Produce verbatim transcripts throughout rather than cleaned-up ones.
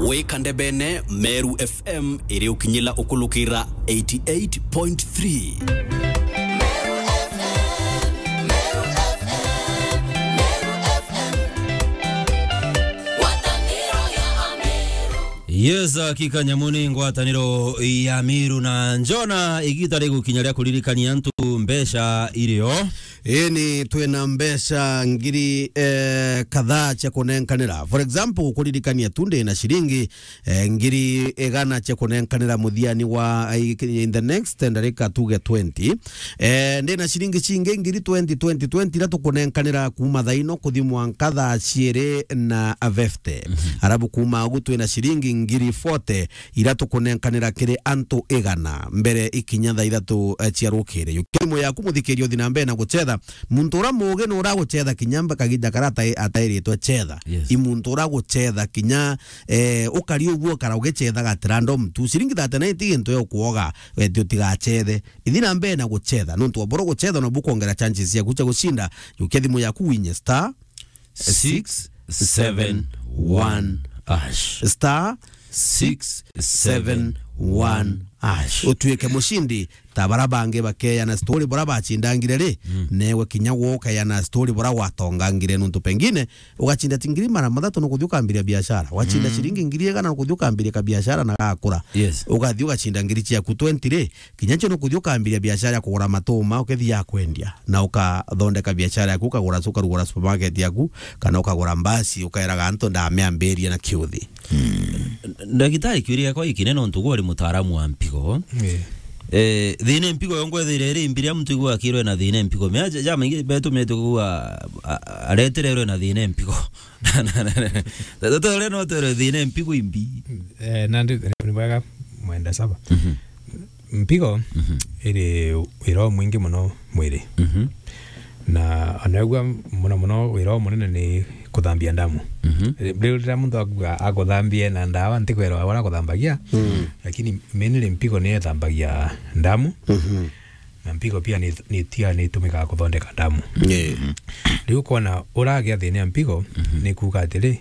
Wika ndebene, Meru F M iri ukinyila ukulukira eighty eight point three. Yes, hakika nyamu ni ngwataniro ya Meru na Njona, igita rigukinya ria kuririkania antu mbeca irio. Ii ni twina mbeca ngiri, eh, kadhaa cia kunenkanira. For example, kuririkania tu ndi na ciringi, eh, ngiri igana cia kunenkanira muthiani wa, eh, in the next ndarika tuge twenty. Eh, ndi na ciringi cingi ngiri twenty, twenty, twenty iria tukunenkanira kuuma thaa ino kuthi mwanka thaa ciiri na fifty. Mhm. Arabu kuuma ugu twina ciringi ngiri forty iria tukunenkanira kiri antu igana mbere ikinya thaa ithatu, eh, cia rukiri. Jukia thimu yaku, muthikiria, uthi na mbere na gucetha. Muntu uria muugi ni uria agucetha kinya mba kaginda karia atai-, atairitwe cetha. Yes. I muntu uria agucetha kinya, eh, ukari uguo ukara ugicethaga at random tu. Ciringi thirty-nine ti gintu ya ukuoga, we ti utigacethe. Ithi na mbere na gucetha, nontu wa boro gucetha nobu kwongera chances ciaku cia gucinda. Jukia thimu yaku winye star six seven one hash. Star six seven one hash. Utuike mucindi ta bara bangi bakeana story bora bacindangire ri, mm, newe kinya gwe ukeana story bora gwatongangire, nontu pengine ugacinda ti ngiri magana mathatu nukuthi ukambiria biashara, wacinda, mm, ciringi ngiri igana nukuthi ukambiria kabiashara na gakura. Yes. Ugathi ugacinda ngiri ciaku twenty ri, kinya ncio nukuthi ukambiria biashara ya kugura matuma, ukethi ya kwendia, na ukathondeka biashara yaku, ukagura, ukarugura supermarket yaku, kana ukagura mbasi, ukaeraga antu, "Ndameambiria na kiuthi." Mm. Ndagitari, kiuria giakwa gikinene, nontu gwe uri mutaaramu wa mpigo. Yeah. Eh, thina mpigo yo ngwethire iri mbiria muntu igwa akirwe na thina mpigo. Mea ja-, jamaingi betu metu kugwa, a-, a-, aretererwe na thina mpigo. Tata uria no twere thina mpigo imbi. Eh, nandi ni bwega mwenda saba. Mhm. Mpigo, mhm, iri wira umwingi muno mwiri. Mhm. Na anaigua muno muno wira umunene ni kuthambia ndamu. Mhm. Riu riria muntu akuga akuthambia na ndawa, ntikwirwa uria akuthambagia, mm, lakini mainly mpigo niyo ithambagia ndamu. Mhm. Na mpigo pia ni, ni tia ni itumikaga kuthondeka ndamu. Yeah. Riu ukona uragia thina ya mpigo, mhm, ni kuuga atiri,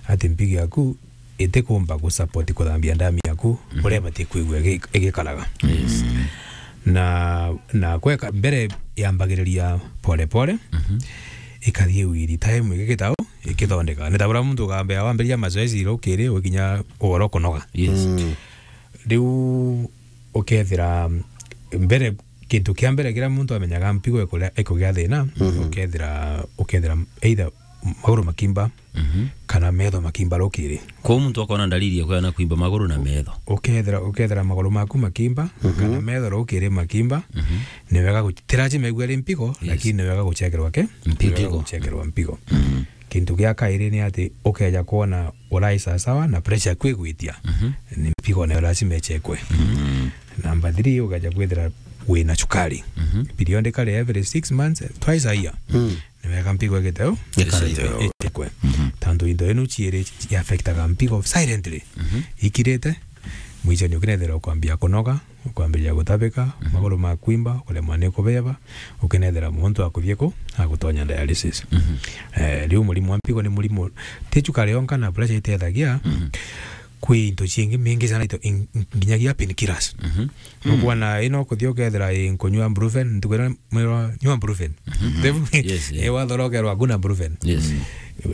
ati mpigo yaku itikumba gusupport kuthambia ndamu yaku, mhm, uria ibati kwigua igi-, igikaraga. Yes. Na, na kweka mbere yambagiriria pole pole, mhm, ikathie wiri time igikitau, ikithondeka. Ni ta buria muntu ukambia wambiriria mazoezi rukiri, ukinya ugoro kunoga. Yes. Mm. Riu ukethira mbere, kintu kia mbere kiria muntu amenyaga mpigo ikuria, ikugia thina, mhm, ukethira, ukethira either maguru makimba, mhm, kana metho makimba rukiri. Kwou muntu akona ndariri ya kwona kwimba maguru na metho. Ukethira, ukethira maguru maku makimba, mhm, kana metho rukiri makimba, mhm, ni wega gu-, ti lazima igue ri mpigo, yes, lakini ni wega guchekerwa ke? Mpigo. Ni wega guchekerwa mpigo. Mhm. Kintu gia kairi ni ati ukeja kwona urai sawasawa na pressure yaku igwitia, mhm, ni mpigo nayo lazima ichekwe. Mhm. Namba three, ukeja kwithira wina cukari. Mhm. Periodically every six months, twice a year. Mm. Ni wega mpigo igite u? Ikarite u. Ichekwe. Mhm. Tantu into inu ciiri ci affectaga mpigo silently. Mhm. Ikirite, mwichani ukinethira ukwambia kunoga, ukwambiria gutabika, mhm, maguru makwimba, ukuremwa ni kubeba, ukinethira muntu akuthie ku, agutonya dialysis. Mhm. Eh, riu murimu wa mpigo ni murimu, ti cukari yonka na pressure itethagia, mhm, kwi into ciingi mingi sana, into in-, in-, nginyagia painkillers. Mhm. Nukwona ino kuthia ukethira i nkunywa brufen, ntukwira mwirwa nywa brufen. Mhm. Yes, yeah. Eh, wathorokerwa kuna brufen. Yes. Mm.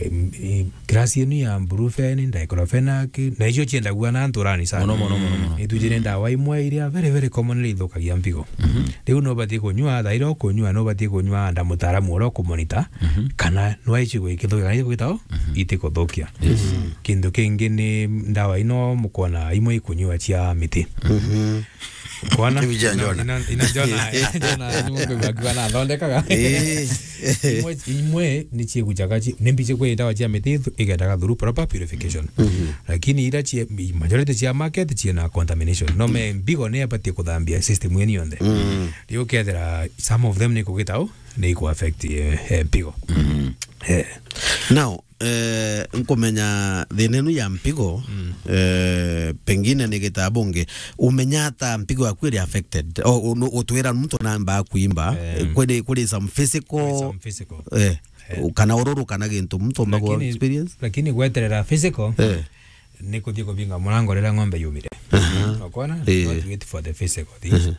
Eh, eh, class yenu ya brufen, diclofenac, na icio ciendagua na nturani sana. Mono, mono, mono, mono. Itujire ndawa imwe iria very, very commonly ithukagia mpigo. Mhm. Riu no ubatie kunywa, thaira ukunywa, no ubatie kunywa nda mutaaramu uria ukumonita, mhm, kana no aici gwikithukia, kana ikugita o, mhm, itikuthukia. Yes. Mhm. Kintu kingi ni ndawa ino mukwona imwe ikunywa cia miti. Mhm. Kwana? Ibi cia Njona. Ina, ina, ina Njona, ina Njona, ni mundu akiwa na athondekaga. Eh. Imwe, imwe ni ciigucaga ci-, ni mbi cia kwenda ndawa cia miti ithu-, igendaga through proper purification. Mhm. Lakini ira cia, majority cia market ciina contamination. No me mbigo ni abatie kuthambia system yeni yonthe. Mhm. Riu ukethira some of them ni kugita u, ni iku affect, eh, eh, mpigo. Mhm. Eh. Now, eh, nkumenya thina inu ya mpigo, mm, eh, pengine ni gitabu ngi, umenya ata mpigo yaku iri affected? O, unu-, utwira muntu namba kuimba, eh, kuri, kuri some physical, kuri some physical, eh, eh, kana ururu kana gintu muntu omba ku experience? Lakini gweterera physical, eh, ni kuthii kubinga murango riria ng'ombe yumire. Aha. Ukoona? Eh. Not wait for the physical things. Aha.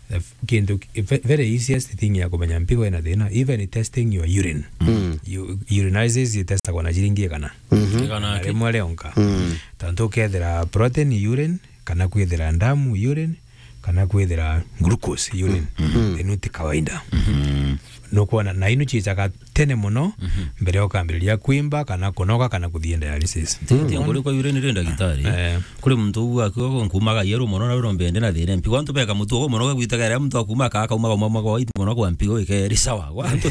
The f-, kintu ki-, ve-, very easiest thing ya kumenya mpigo ina thina, even testing your urine. Mm. U-, urinalysis itestagwa na ciringi igana. Mhm. Igana Na aki? rimwe rionka. Mm. Tontu ukethira protein urine, kana kwithira ndamu urine, kana kwithira glucose urine, Mhm. inu ti kawaida. Mhm. Nukwona, na inu ciicaga tene mono, Mhm. mbere ukambiriria kwimba, kana kunoga, kana kuthii dialysis. Ti, ti Ukoona? nkuri kwa urine ri ndagitari. Eh. Kuri muntu uu akiuga nkumaga yeru mono na urombe ndi na thina mpigo. Antu beka mutu ugo mono gwitaga ria muntu akumaga, akaumaga umwe mwa waiti mono kwa mpigo ikeri sawa. Gwa antu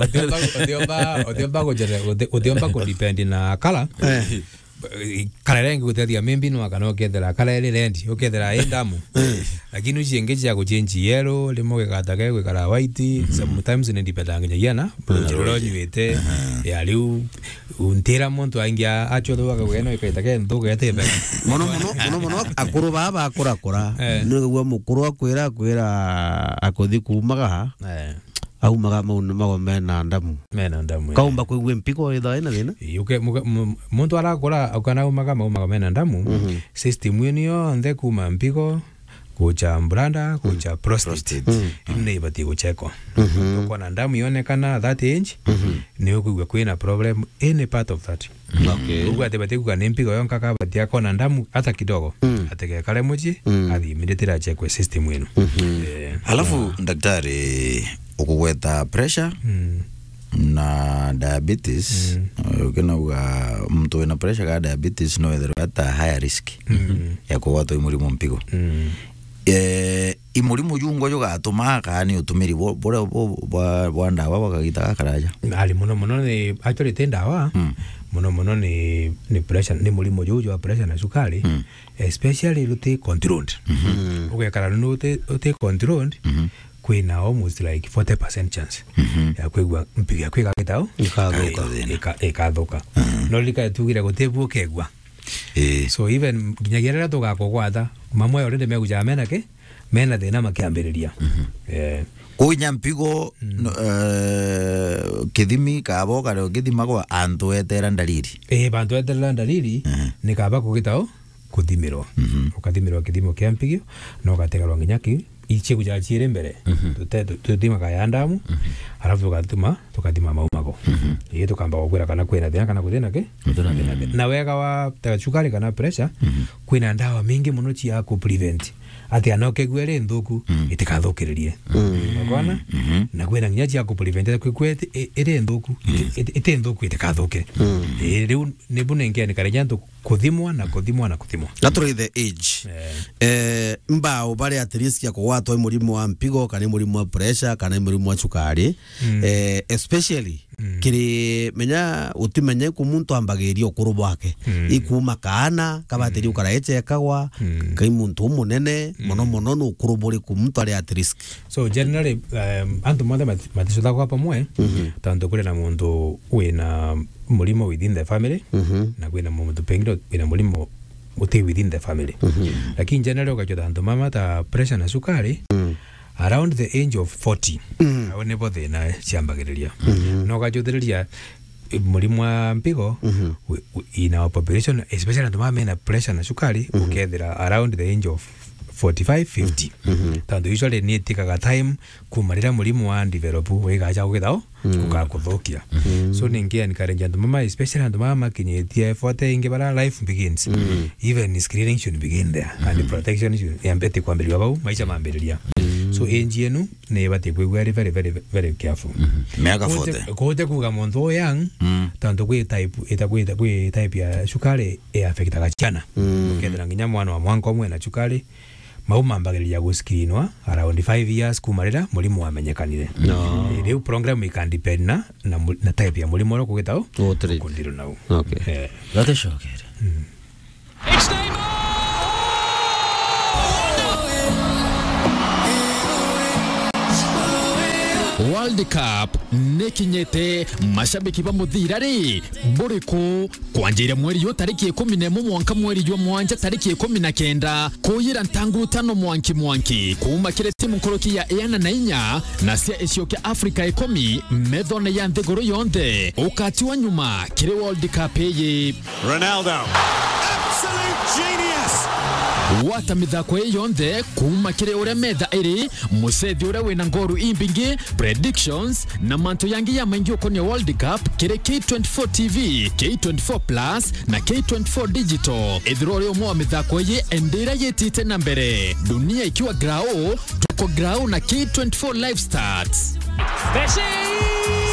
Utiomba, utiomba, utiomba kujere-, uti-, utiomba kudepend na kala. Eh. Kala iri ingi gutethia maybe no kana ukethira kala iri red, ukethira i ndamu. Eh. Lakini ucio ingi cia guchange yellow, rimwe gikata ge gwikara white, Mhm. sometimes ni depend nginyagia na, Na rujiro rwa rwiji. nyuite, Aha. ya riu, untira muntu aingi a-, acio thuga gweno ikaita ke nthuga ete mbega. Mono mono, mono mono, akuru baa bakurakura. Eh. Nigagua mukuru akwira, akwira akuthi kumaga ha, Eh. aumaga mau ni mago mena ndamu. Mena ndamu, eh. Kaumba kwigua mpigo ithaa ina thina? Ii, uke-, muke-, mu-, muntu arakura, ukana aumaga, maumaga mena ndamu, Mhm. system ino yonthe kuma mpigo, kucha bladder, kucha prostate, Prostate. Mm. ino ni ibatie guchekwa. Mhm. Ukona ndamu yonekana that age, Mhm. ni ukwigua kwina problem any part of that. Okay. Ugu ati bati kuga ni mpigo yonka, kabati akona ndamu hata kidogo. Mm. Ategekare mucii, Mm. athi immediately achekwe system ino. Mhm. Eh. Alafu, Yeah. daktari, ukugweta pressure Mm. na diabetes, Mm. eh, ukinauga muntu wina pressure kana diabetes no ethirwe ata higher risk Mm. ya kugwatwa i murimu mpigo. Mm. Eh, i murimu jungwa jugatuma kana ni utumiri bwa, bwa, bwa, bwa, bwa ndawa bwa kagita gakaraja? Ari mono mono ni, actually, ti ndawa. Mm. Mono mono ni, ni pressure, ni murimu juu jwa pressure na cukari, Mm. especially ruti controlled. Mhm. Ugekara ruti, ruti controlled, Mhm. kwina almost like forty percent chance Mhm. ya kwigua mpigo yaku igagita u? Ikathuka. Ika-, ikathuka. Mhm. No rika tugire guti bu ukegua. Eh. So even nginyagia riria tugakugwata, mamwe already megujaga mena ki? Mena thina makiambiriria. Mhm. Eh. Kwinya mpigo, Mm. no, eh, kithimi kabo kare ukithimagwa antu etera ndariri. Eh, bantu eterera ndariri, Mhm. ni kaba kugita u? Kuthimirwa. Mhm. Ukathimirwa kithimo kia mpigo, na ugategerwa nginya ki, ichiguja chiiri mbere. Mhm. Tute-, tu-, tuthimaga ya ndamu, Mhm. alafu tugathima, tukathima maumago. Mhm. Ii tukamba gukwira kana kwina thina kana gutina ki? Gutina thina. Na wega wa ta cukari kana pressure, Mhm. kwina ndawa mingi mono cia ku prevent. Ati ana ukegua iri nthuku, Mm. itikathukiririe. Mm. Ukoona? Mhm. Na kwina nginya cia ku prevent, kwigua iti-, i-, iri nthuku, Mm. iti-, iti nthuku itikathuke. Mm. Ii, riu nibu nengeani kare jantu kuthimwa na kuthimwa na kuthimwa. Gaturithe age. Eh. Eh, mbao bari at risk ya kugwatwa i murimu wa mpigo, kana i murimu wa pressure, kana i murimu wa cukari. Mm. Eh, especially, Mm. kiri, menya, utimenya iku muntu ambagiria ukuru bwake. Mm. Ikuma kaana, kabatiri Mm. ukara echekagwa, Mm. kai muntu umunene, Mm. mono mono ni ukuru buriku muntu ari at risk? So, generally, um, antu monthe mati-, maticuthaga kwa pamwe, Mhm. tontu kuri na muntu wina murimo within the family, Mhm. na kwina muntu pengine wina murimo uti within the family. Mhm. Lakini generally ukachotha antu mama ta pressure na sukari, Mm. around the age of forty, Mm. au nibo thina ciambagiriria. Mhm. Na ukachothiriria, eh, murimo wa mpigo, Mhm. wi-, wi-, in our population, especially antu mama mena pressure na sukari, Mhm. ukethira around the age of forty-five, fifty. Mhm. Tontu usually ni itikaga time kuma riria murimo wa develop wigacha gukithao, Mm. gukakuthukia. Mm. So, ningi encourage antu mama, especially antu mama makinyitie forty ingi bara life begins. Mm. Even screening should begin there. And Mm. protection should, yambete kwambiriria bau, maisha mambiriria. Mm. So, age yenu ni ibati kwigua iri very, very, very careful. Mm. Miaka Kuhute, forty. Kuhute kuga muntu u young, Mm. tontu kwi type, ita-, kwi, kwi type ya cukari i affectaga ciana. Mm. Ukethira nginya mwana wa mwanka umwe na cukari, mau mambagiriria guscreenwa around five years kuma riria murimo wamenyekanire. No. Eh, riu program ikan depend na, na mu-, na type ya murimo uria ukugita u, Utri. Ukundiro nau. Okay. Eh. Gatucokere. Mm. World Cup nikinyite, mashabiki ba muthira ri, buriku? Kwanjira mweri yu tariki ikumi na imwe mwanka mweri jwa mwanja tariki ikumi na kenda, kuyira ntanguru tano mwanki mwanki, kuuma kiri timu nkuruki ya iana na inya na cia icio kia Africa ikumi methone ya nthiguru yonthe, ukatiwa nyuma kiri World Cup iyi. Ronaldo. Absolute genius. Gwata mithako ii yonthe kuuma kiri uria metha iri, mucethi uria wina ngoru imbingi, predictions, na mantu yangi ya maingi ukonia World Cup kiri K twenty-four T V, K twenty-four Plus, na K twenty-four Digital. Ithirwa uri umwe wa mithako ii, endira yitite na mbere. Dunia ikiwa grau, tuko grau na K twenty-four Live Stats. Messi!